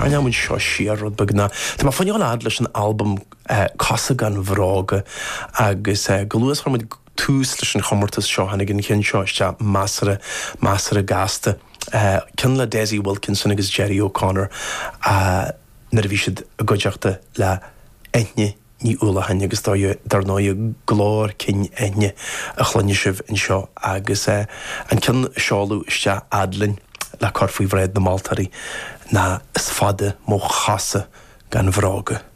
Tarraingeoidh muid seo siar rud beag ná tá mé ag fáil fhad leis an albam Cosa Gan Bhróga agus go luath is a chuir muid tús leis an chomórtas seo tháinig an ceann seo isteach measartha, measartha gasta. Ceann le Dessie Wilkinson agus Gerry O'Connor nuair a bhí siad i gcuideachta le Eithne Ní Uallacháin agus dar ndóigh glór cinn Eithne a chluinfidh sibh anseo agus an ceann a seoladh isteach fhad linn le cur faoi bhráid na moltóirí ná Is fada mo chosa gan bhróga.